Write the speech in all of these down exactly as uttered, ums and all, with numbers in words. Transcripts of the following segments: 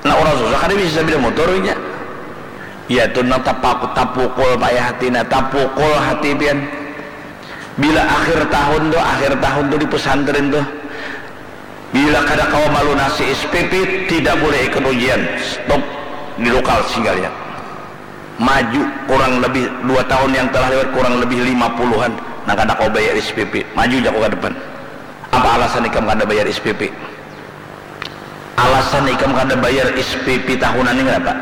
Nah, urang susah kada bisa sapida motor inya. Ya tu nang tapaku tapukul payah hati, nah tapukul hati pian. Bila akhir tahun tu, akhir tahun tu di pesantren tu, bila kada kawa malunasi S P P, tidak boleh ikut ujian. Stop di lokal singgahnya. Maju kurang lebih dua tahun yang telah lewat, kurang lebih lima puluhan nang kada kawa bayar S P P. Maju jaku ka depan. Apa alasan ikam kada bayar S P P? Alasan ikam kada bayar S P P tahunan ni kenapa?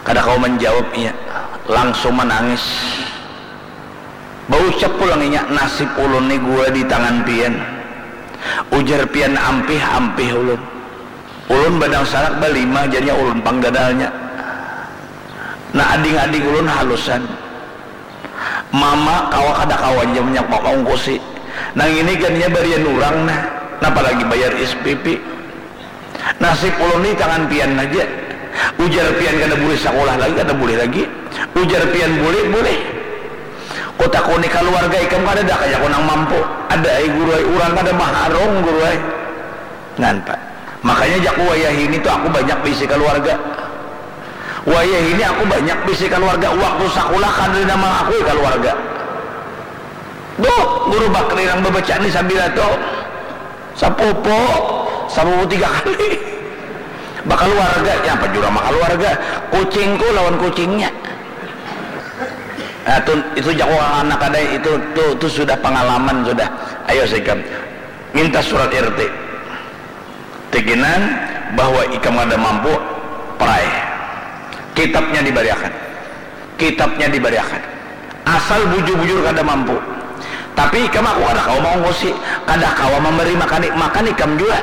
Kada kawa manjawab inya, langsung manangis. Baucap pulang inya, nasib ulun ni gua di tangan pian. Ujar pian ampih-ampih ulun. Ulun badangsanak balima, jarnya ulun pang ganalnya. Nah, ading-ading ulun halusan. Mama kawa kada kawa ja manyak maungkusi. Nang ini kan inya barian urang nah, napa lagi bayar S P P. Nasib ulun ni tangan pian haja. Ujar pian kada bulih sakulah lagi, kada bulih lagi. Ujar pian bulih, bulih. Kutakuni kaluarga ikam kadada kah jaku nang mampu. Ada ai guru ai, urang kada maharung guru ai. Ngan, Pak. Makanya jaku wayah ini tu aku banyak bisi kaluarga. Wayah ini aku banyak bisi kaluarga. Waktu sakulah kada nang mangakui kaluarga. Duh, guru Bakri nang babaca ni sabila tu. Sapupu, sapupu tiga kali. Bakaluarga, ya apa jua makaluarga. Kucingku lawan kucingnya. Nah, tu, itu jaku anak ada itu, tu, tu sudah pangalaman sudah. Ayo sikam. Minta surat R T. Tikinan bahwa ikam kada mampu, perai. Kitabnya dibariakan. Kitabnya dibariakan. Asal bujur-bujur kada mampu. Tapi ikam aku kada kawa maungkusi, kada kawa mambari makan, makan ikam jua.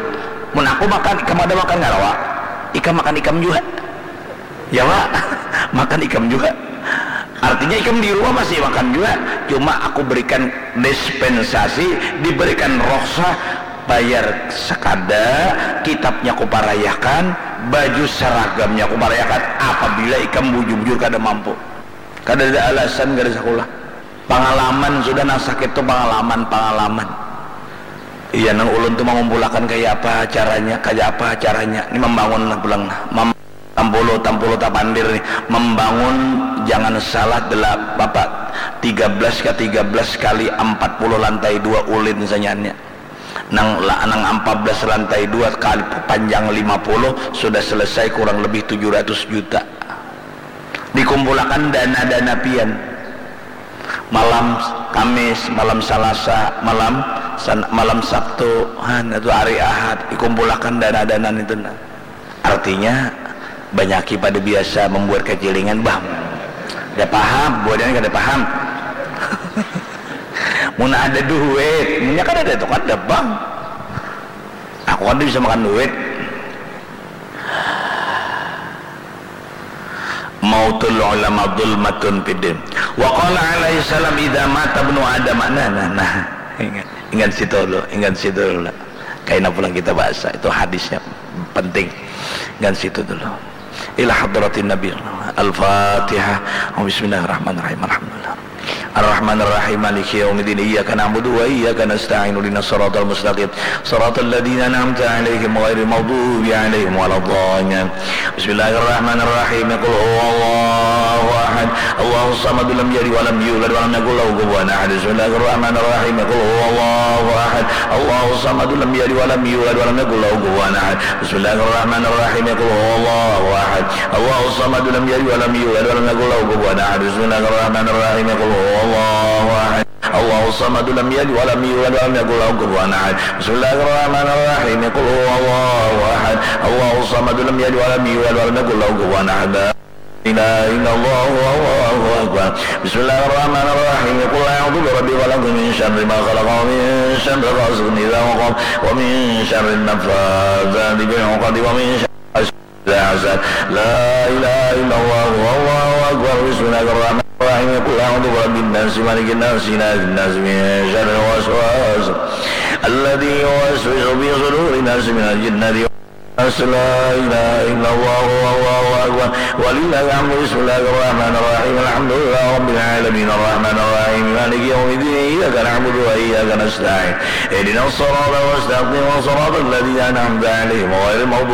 Mun aku makan, ikam kada makan ngarawa. Ikam makan ikam jua. Ya, Pak. Makan ikam jua. Artinya ikam di rumah masih makan jua. Cuma aku berikan dispensasi, diberikan rukhsah, bayar sakada, kitabnya kuparayakan, baju seragamnya kuparayakan, apabila ikam bujur-bujur kada mampu. Kadada alasan kada sakulah. Pangalaman sudah nang sakit tu pangalaman, pangalaman. Iya, nang ulun tu mangumpulakan kaya apa caranya, kaya apa caranya. Ni mambangun lah pulang lah. Mam-, tampulu, tampulu tapandir ni. Mambangun, jangan salah, delap-, apa, tiga belas ka tiga belas kali ampat puluh lantai dua ulin saja nya. Nang la-, nang ampat belas lantai dua kali panjang lima puluh sudah selesai kurang lebih tujuh ratus juta. Dikumpulakan dana-dana pian. Malam Kamis, malam Salasa, malam San-, malam Sabtu, han, itu hari Ahad, dikumpulakan dana-dana itu nah. Artinya, banyaki pada biasa membuat kacilingan, bah. Kada paham, buhannya kada paham. Mun ada duit, munnya kada ada itu kada, bang. Aku kada bisa makan duit. Mautul ulama zulmatun fiddin. Wa qala alaihi salam, "Idza mata ibnu Adam." Nah, nah, nah. Ingat, ingat situ dulu, ingat situ dulu. Kaina pulang kita bahasa, itu hadisnya penting. Ingat situ dulu. Ila hadratin Nabi. Al-Fatihah. Bismillahirrahmanirrahim. Alhamdulillah. Ar-Rahmanir Rahim. Maliki yaumiddin. Iyyaka na'budu wa iyyaka nasta'in. Ihdinas siratal mustaqim. Siratal ladzina an'amta 'alaihim ghairil maghdubi 'alaihim waladdallin. Bismillahirrahmanirrahim. Qul huwallahu ahad. Allahus samad, lam yalid wa lam yulad wa lam yakul lahu kufuwan ahad. Bismillahirrahmanirrahim. Qul huwallahu ahad. Allahus samad, lam yalid wa lam yulad wa lam yakul lahu kufuwan ahad. Bismillahirrahmanirrahim. Qul huwallahu ahad. Allahus samad, lam yalid wa lam yulad wa lam yakul lahu kufuwan ahad. Bismillahirrahmanirrahim. Qul huwallahu ahad. Allahus samad, lam yalid wa lam yulad wa lam yakul lahu kufuwan ahad. Bismillahirrahmanirrahim. Qul huwallahu ahad. Allahus samad, lam yalid wa lam yulad wa lam yakul lahu kufuwan ahad. La ilaha illallah, wallahu akbar. Bismillahirrahmanirrahim. Qul a'udzu birabbil falaq, min syarri ma khalaq, wa min syarri ghasiqin idza waqab, wa min syarri naffadzati fil 'uqad, wa min syarri hasidin idza hasad. La ilaha illallah, wallahu akbar. Bismillahirrahmanirrahim. Qul a'udzu birabbin nas, malikin nas, ilahin nas, min syarril waswas alladzi yuwaswisu fi sudurin nas, minal jinnati wan nas. La ilaha illallah, wallahu akbar. Walillahil hamdu. Bismillahirrahmanirrahim. Alhamdulillahi rabbil alamin. Arrahmanirrahim. Maliki yaumiddin. Iyyaka na'budu wa iyyaka nasta'in. Ihdinas siratal mustaqim. Siratal ladzina an'amta 'alaihim ghairil maghdubi